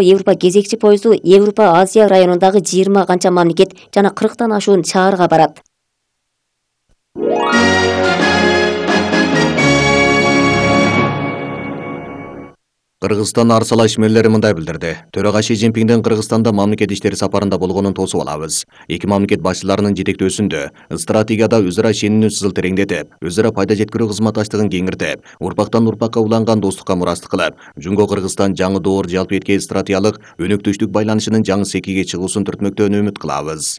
Европа кезекчи поезду Европа-Азия районундагы 20 канча мамлекет жана 40тан ашуун шаарга барат. Кыргызстан арсала ишмерлери мындай билдирди. Төрага Си Цзиньпиндин Кыргызстанда мамлекет иштери сапарында болгонун тосуп алабыз. Эки мамлекет башчыларынын жетектөөсүндө стратегияда өз ара ишенимди сызыл тереңдетип, өз ара пайда жеткирүү кызматташтыгын кеңиртип, урпактан урпакка уланган достукка мурастык кылып, Жунго-Кыргызстан жаңы доор жалпы эркек стратегиялык өнөктөштүк байланышынын жаңы секиге чыгуусун түртмөктөн үмүт кылабыз.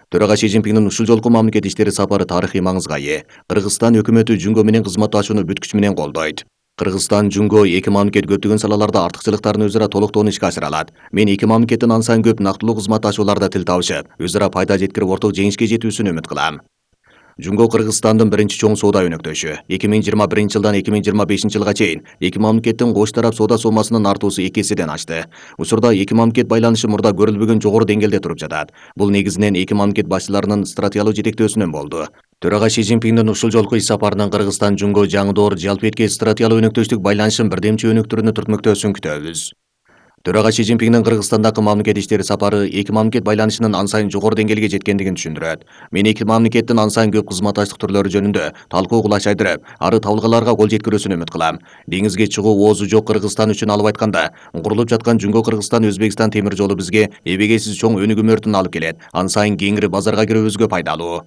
Төрага Си Цзиньпиндин ушул жолку мамлекет иштери сапары тарыхый маңызга ээ. Кыргызстан өкмөтү Жунго менен кызматташууну бүт күч менен колдойт. Кыргызстан, Жунго эки мамлекет көптөгөн салаларда артыкчылыктарын өз ара толуктоон ишке ашыра алат. Мен эки мамлекеттин ан сайын көп нактылуу кызматташууларда тил табышып, өз ара пайда жеткирип орток жеңишке жетүүсүн үмүт кылам. Жунго Кыргызстандын биринчи чоң соода өнөктөшү. 2021 жылдан 2025 жылга чейин эки мамлекеттин кош тарап соода сомасынын артуусу 2 эседен ашты. Учурда эки мамлекет байланышы мурда көрүлбөгөн жогору деңгээлде туруп жатат. Бул негизинен эки мамлекет башчыларынын стратегиялык жетектөөсүнөн болду. Төрага Си Цзиньпиндин ушул жолку иш сапарынан Кыргызстан Жунго жаңы доор жалпы эркек стратегиялык өнөктөштүк байланышын бирдемчи өнүктүрүүнү түртмөктөөсүн күтөбүз. Төрага Си Цзиньпиндин Кыргызстандагы мамлекет иштери сапары эки мамлекет байланышынын ан сайын жогору деңгээлге жеткендигин түшүндүрөт. Мен эки мамлекеттин ан сайын көп кызматташтык түрлөрү жөнүндө талкуу кылыш айдырып, ары табылгаларга кол жеткирүүсүн үмүт кылам. Деңизге чыгуу оозу жок Кыргызстан үчүн алып айтканда, курулуп жаткан Жунго-Кыргызстан-Өзбекстан темир жолу бизге эбегейсиз чоң өнүгүү өртүн алып келет. Ан сайын кеңири базарга кирүүбүзгө пайдалуу.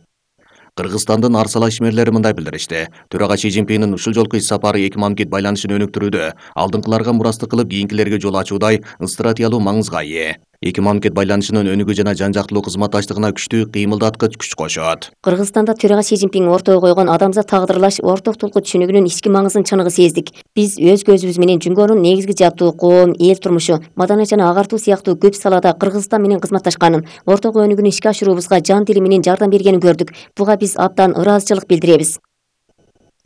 Кыргызстандын арсала ишмерлери мындай билдиришти. Төрага Си Цзиньпиндин ушул жолку иш сапары эки мамлекет байланышын өнүктүрүүдө алдыңкыларга мурастык кылып кийинкилерге жол ачуудай стратегиялык маңызга ээ. Эки мамлекет байланышынын өнүгүү жана жан жактылуу кызматташтыгына күчтүү кыймылдаткыч күч кошот. Кыргызстанда төрага Си Цзиньпин ортого койгон адамзат тагдырлаш орток тулку түшүнүгүнүн ички маңызын чыныгы сездик. Биз өз көзүбүз менен Жунгонун негизги жаптуу коом, эл турмушу, маданият жана агартуу сыяктуу көп салада Кыргызстан менен кызматташканын, орток өнүгүүнү ишке ашыруубузга жан тили менен жардам бергенин көрдүк. Буга биз абдан ыраазычылык билдиребиз.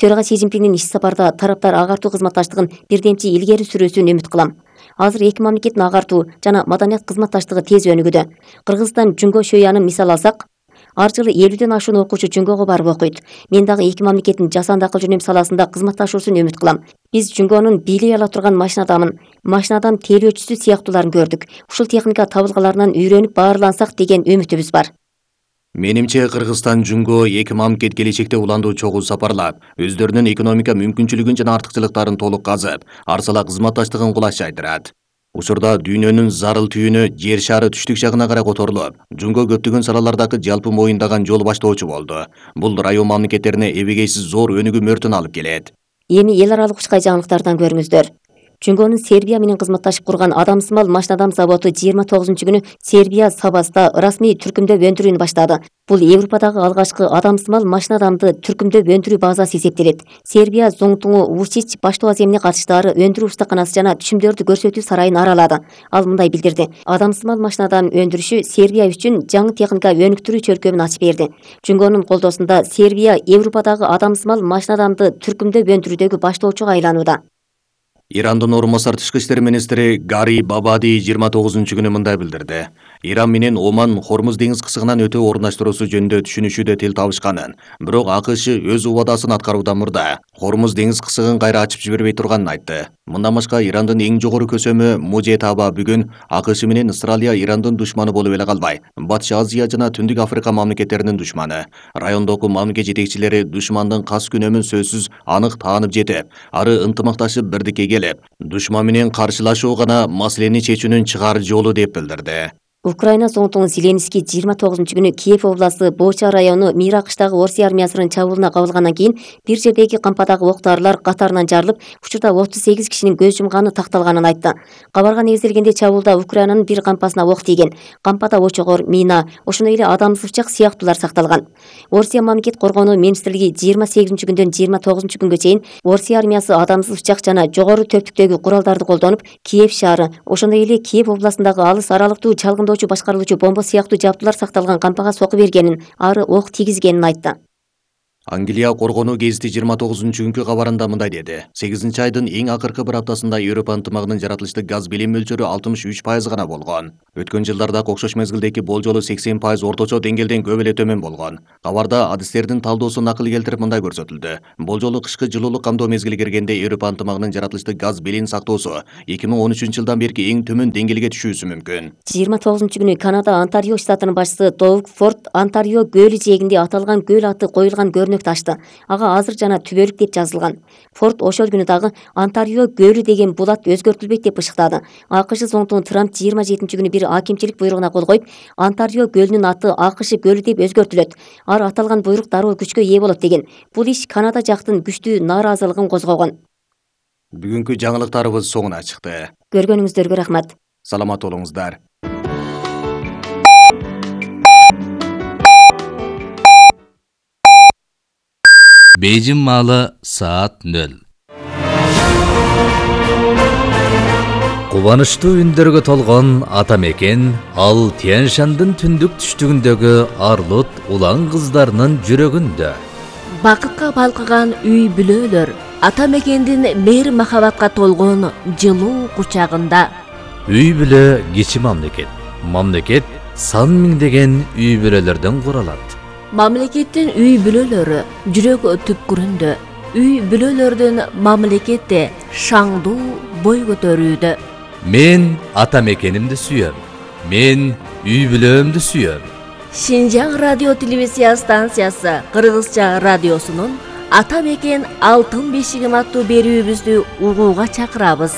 Төрага Си Цзиньпиндин иш сапарда тараптар агартуу кызматташтыгын бирдемчи илгери сүрүүсүн үмүт кылам. Азыр эки мамлекеттин агартуу жана маданият кызматташтыгы тез өнүгүүдө. Кыргызстан Жунго Шөянын мисал алсак, ар жылы 50ден ашуун окуучу Жунгого барып окуйт. Мен дагы эки мамлекеттин жасанды акыл жөнөм саласында кызматташуусун үмүт кылам. Биз Жунгонун бийлей ала турган машина адам тейлөөчүсү сыяктууларын көрдүк. Ушул техника табылгаларынан үйрөнүп баарлансак деген үмүтүбүз бар. Менимче Кыргызстан Жунго эки мамлекет келечекте уландуу чогуу сапарлап, өздөрүнүн экономика мүмкүнчүлүгүн жана артыкчылыктарын толук казып, арсала кызматташтыгын кулаш айдырат. Учурда дүйнөнүн зарыл түйүнү жер шары түштүк жагына карай которулуп, Жунго көптөгөн салалардагы жалпы моюндаган жол баштоочу болду. Бул район мамлекеттерине эбегейсиз зор өнүгүү өртүн алып келет. Эми эл аралык учкай жаңылыктардан көрүңүздөр. Жунгонун Сербия менен кызматташып курган Адамсымал машинадам заводу 29-күнү Сербия Сабаста расмий түркүмдөп өндүрүүнү баштады. Бул Европадагы алгачкы адамсымал машинадамды түркүмдөп өндүрүү базасы эсептелет. Сербия Зоңтуңу Вучич баштоо аземине катыштары өндүрүү устаканасы жана түшүмдөрдү көрсөтүү сарайын аралады. Ал мындай билдирди: адамсымал машинадам өндүрүшү Сербия үчүн жаңы техника өнүктүрүү чөлкөмүн ачып берди. Жунгонун колдоосунда Сербия Европадагы адамсымал машинадамды түркүмдөп өндүрүүдөгү баштоочуга айланууда. Ирандын орун басар тышкы иштер министри Гари Бабади 29-күнү мындай билдирди. Иран менен Оман Хормуз деңиз кысыгынан өтүү орундаштыруусу жөнүндө түшүнүшүүдө тил табышканын, бирок АКШ өз убадасын аткаруудан мурда Хормуз деңиз кысыгын кайра ачып жибербей турганын айтты. Мындан башка Ирандын эң жогору көсөмү Мужетаба бүгүн АКШ менен Австралия Ирандын душманы болуп эле калбай, Батыш Азия жана Түндүк Африка мамлекеттеринин душманы. Райондогу мамлекет жетекчилери душмандын кас күнөмүн сөзсүз анык таанып жетип, ары ынтымакташып бирдикке келип, душман менен каршылашуу гана маселени чечүүнүн чыгаар жолу деп билдирди. Украина Зоңтуңу Зеленский 29-күнү Киев областы Боча району Миракыштагы Орусия армиясынын чабуулуна кабылгандан кийин бир жердеги кампадагы октарлар катарынан жарылып, учурда 38 кишинин көз жумганы такталганын айтты. Кабарга негизделгенде чабуулда Украинанын бир кампасына ок тийген. Кампада очогор, мина, ошондой эле адамсыз сыяктуулар сакталган. Орусия мамлекет коргонуу министрлиги 28-күндөн 29-күнгө чейин Орусия армиясы адамсыз жана жогору төптүктөгү куралдарды колдонуп, Киев шаары, ошондой эле Киев областындагы алыс аралыктуу чалгындоочу башкарылуучу бомба сыяктуу жабдуулар сакталган кампага сокку бергенин, ары ок тийгизгенин айтты. Англия коргонуу гезити 29-күnkү кабарында мындай деди. 8-айдын эң акыркы бир аптасында Европа ынтымагынын жаратылыштык газ билим мөлчөрү 63% гана болгон. Өткөн жылдарда окшош мезгилдеги болжолу 80% орточо деңгээлден көп эле төмөн болгон. Кабарда адистердин талдоосун накыл келтирип мындай көрсөтүлдү. Болжолу кышкы жылуулук камдоо мезгили киргенде Европа ынтымагынын жаратылыштык газ билин сактоосу 2013-жылдан берки эң төмөн деңгээлге түшүүсү мүмкүн. 29-күнү Канада Онтарио штатынын башчысы Доуг Форд Онтарио көлү жээгинде аталган көл аты коюлган көрүнөктү ачты. Ага азыр жана түбөлүк деп жазылган. Форд ошол күнү дагы Онтарио көлү деген булат өзгөртүлбөйт деп ышыктады. АКШ зондун Трамп 27-күнү бир акимчилик буйругуна кол коюп, Онтарио көлүнүн аты АКШ көлү деп өзгөртүлөт. Ар аталган буйрук дароо күчкө ээ болот деген. Бул иш Канада жактын күчтүү нааразылыгын козгогон. Бүгүнкү жаңылыктарыбыз соңуна чыкты. Көргөнүңүздөргө рахмат. Саламат болуңуздар. Бейжин маалы саат 0. Кубанычтуу үндөргө толгон ата мекен ал Тянь-Шандын түндүк түштүгүндөгү арлут улан кыздарынын жүрөгүндө. Бакытка балкыган үй бүлөлөр ата мекендин мээр махабатка толгон жылуу кучагында. Үй бүлө кичи мамлекет. Мамлекет сан миңдеген үй бүлөлөрдөн куралат. Мамлекеттин үй бүлөлөрү жүрөк түпкүрүндө. Үй бүлөлөрдүн мамлекетте шаңдуу бой көтөрүүдө. Мен ата мекенимди сүйөм. Мен үй бүлөмдү сүйөм. Шинжаң радио телевизия станциясы Кыргызча радиосунун Ата мекен алтын бешигим аттуу берүүбүздү угууга чакырабыз.